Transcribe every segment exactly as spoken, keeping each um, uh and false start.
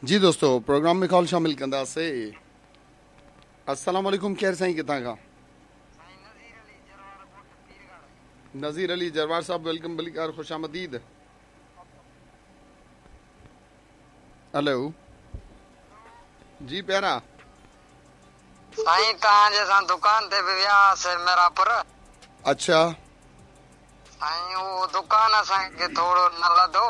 जी दोस्तो, प्रोग्राम में कॉल शामिल कंदासीं। अस्सलाम वालेकुम, केर साईं किथां खां? नज़ीर अली जरवार साहब, welcome बलिकार, खुश आमदीद। हेलो जी प्यारा साईं, तव्हांजे सां दुकान ते बि वियासीं मेरापुर। अच्छा साईं, उहो दुकान असांखे थोरो न लधो।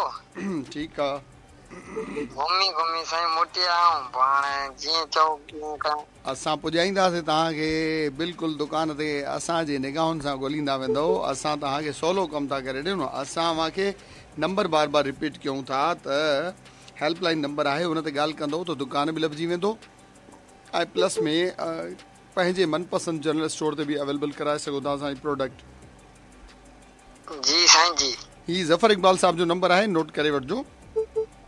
ठीकु आहे। घुमी घुमी साईं मोटी आया आहियूं, पोइ हाणे जीअं चओ तीअं कयूं। असां पुॼाईंदासीं तव्हांखे बिल्कुलु दुकान ते, असांजे निगाहुनि सां ॻोल्हींदा वेंदव। असां तव्हांखे सवलो कमु था करे ॾियूं। असां तव्हांखे नंबर बार बार रिपीट कयूं था त हेल्पलाइन नंबर आहे, उन ते ॻाल्हि कंदव त दुकान बि लभिजी वेंदो ऐं प्लस में पंहिंजे मनपसंद जनरल स्टोर ते बि अवेलेबल कराए सघो था असांजी प्रोडक्ट। जी साईं जी। हीउ ज़फ़र इक़बाल साहब जो नंबर आहे, नोट करे वठिजो।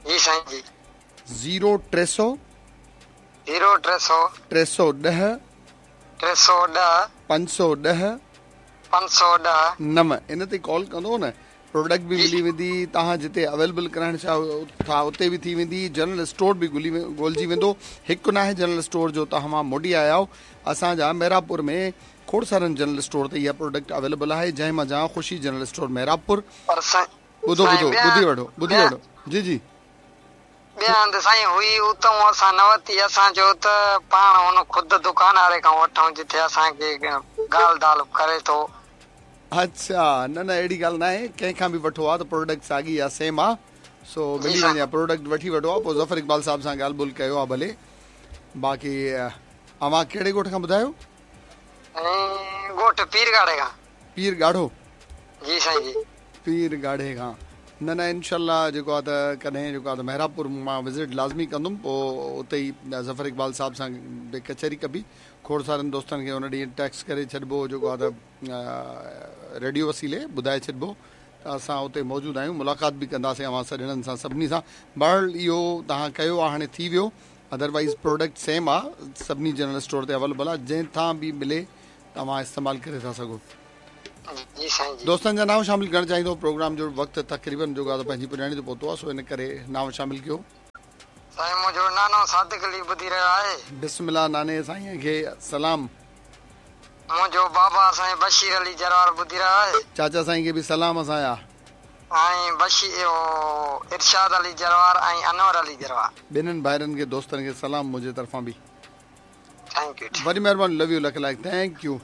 जी साईं जी। ज़ीरो टे सौ ज़ीरो टे सौ टे सौ ॾह टे सौ ॾह पंज सौ ॾह पंज सौ ॾह नव। इन ते कॉल कंदो न, प्रोडक्ट बि मिली वेंदी, तव्हां जिते अवेलेबल कराइण चाहो था उते बि थी वेंदी, जनरल स्टोर बि ॻोल्ही ॻोल्हिजी वेंदो। हिकु न आहे जनरल स्टोर जो तव्हां मोटी आया आहियो। असांजा मेरापुर में खोड़ सारनि जनरल स्टोर ते इहा प्रोडक्ट अवेलेबल आहे, जंहिं मंझां ख़ुशी जनरल स्टोर मेरापुर। ॿुधो ॿुधो ॿुधी वठो ॿुधी वठो। जी जी। ॿिए हंधि साईं हुई, उतां असां न वरिती। असां चयो त पाण हुन ख़ुदि दुकान वारे खां वठूं जिथे असांखे ॻाल्हि दाल करे थो। अच्छा, न न अहिड़ी ॻाल्हि न आहे, कंहिंखां बि वठो आहे त प्रोडक्ट साॻी आहे, सेम आहे, सो मिली वञे प्रोडक्ट वठी वठो आहे। पोइ ज़फ़र इक़बाल साहब सां ॻाल्हि ॿोल कयो आहे भले। बाक़ी अव्हां कहिड़े ॻोठ खां ॿुधायो? ॻोठ पीर ॻाढ़े खां। पीर ॻाढ़ो? जी साईं जी, पीर ॻाढ़े खां। न न इनशाला जेको आहे त कॾहिं जेको आहे त मेहराबपुर मां विज़िट लाज़मी कंदुमि, पोइ उते ई ज़फ़र इक़बाल साहब सां बि कचहरी कबी। खोड़ सारनि दोस्तनि खे हुन ॾींहुं टैक्स करे छॾिबो, जेको आहे त रेडियो वसीले ॿुधाए छॾिबो त असां उते मौजूदु आहियूं, मुलाक़ात बि कंदासीं अव्हां सॼणनि सां सभिनी सां। बहरहाल इहो तव्हां कयो आहे, हाणे थी वियो, अदरवाइज़ प्रोडक्ट सेम आहे, सभिनी जनरल स्टोर ते अवेलेबल आहे, जंहिंखां बि मिले तव्हां इस्तेमालु करे था सघो। जी साईं जी। दोस्तनि जा नांव शामिल करणु चाहींदो, प्रोग्राम जो वक़्तु तक़रीबन जेको आहे त पंहिंजी पुॼाणी ते पहुतो आहे, सो इन करे नांव शामिल कयो। साईं मुंहिंजो नानो सादिक अली ॿुधी रहियो आहे। बिस्मिल्लाह, नाने साईं खे सलाम। मुंहिंजो बाबा साईं बशीर अली जरवार ॿुधी रहियो आहे। चाचा साईं खे बि सलाम असांजा। ऐं बशीर इरशाद अली जरवार ऐं अनवर अली जरवार, ॿिन्हिनि भाइरनि खे दोस्तनि खे सलाम मुंहिंजे तरफ़ां बि। Thank you, वॾी महिरबानी, love you, luck like, thank you.